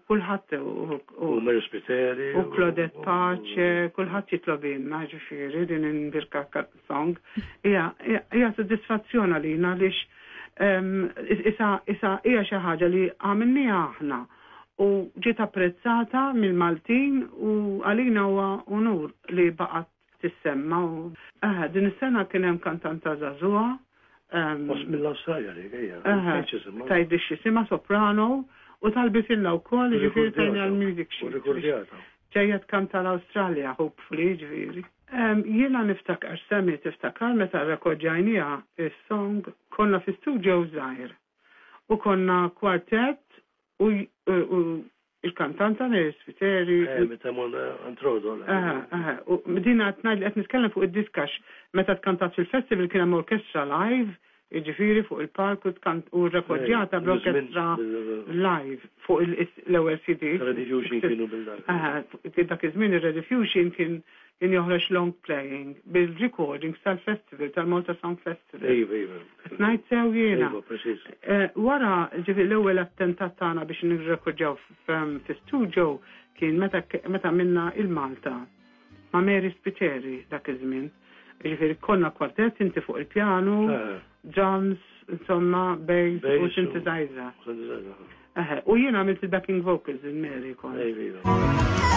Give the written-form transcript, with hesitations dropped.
kulħadd u Mary Spiteri u Claudette Pace, kulħadd jitlobilna ġifieri din il-Birka song. Hija soddisfazzjon għalina għaliex isa isa hija xi ħaġa li għamilniha aħna u ġiet apprezzata mill-Maltin u għalina huwa unur li baqgħet tissemma u din is-sena kien hemm kantanta żagħżugħa. Post mill-Awstralja dik hija. Tgħidli x'jisimha soprano u talbitilna wkoll jiġifieri tajna l-music sheet. U rikordjata. Ġejja tkanta l-Awstralja hopefully jiġifieri. Jiena niftakar Sammy tiftakar meta rrekordjajniha is-song konna fi studio żgħir u konna kwartett u il-kantanta Mary Spiteri. Eh, meta morna Antrodo. Aha, aha. U din qed ngħid li qed nitkellem fuq id-diska għax meta tkantat fil-festival kien hemm orkestra live, jiġifieri fuq il-palk u tkant u rrekordjata bl-orkestra live fuq l-ewwel CD. Rediffusion kienu bil-dak. Aha, dak iż-żmien ir-Rediffusion kien kien joħroġ long playing bil-recordings tal-festival, tal-Malta Song Festival. Iva, iva. Qed ngħid sew jiena? Iva, preċiż. Eh, wara, ġifieri l-ewwel attentat tagħna biex nirrekordjaw fi studio kien meta meta minna il-Malta ma' Mary Spiteri dak iż-żmien. Ġifieri konna kwartett inti fuq il-pjanu, eh. drums, insomma, bass u synthesizer. U jiena għamilt il-backing vocals il-Mary kont. Iva, iva.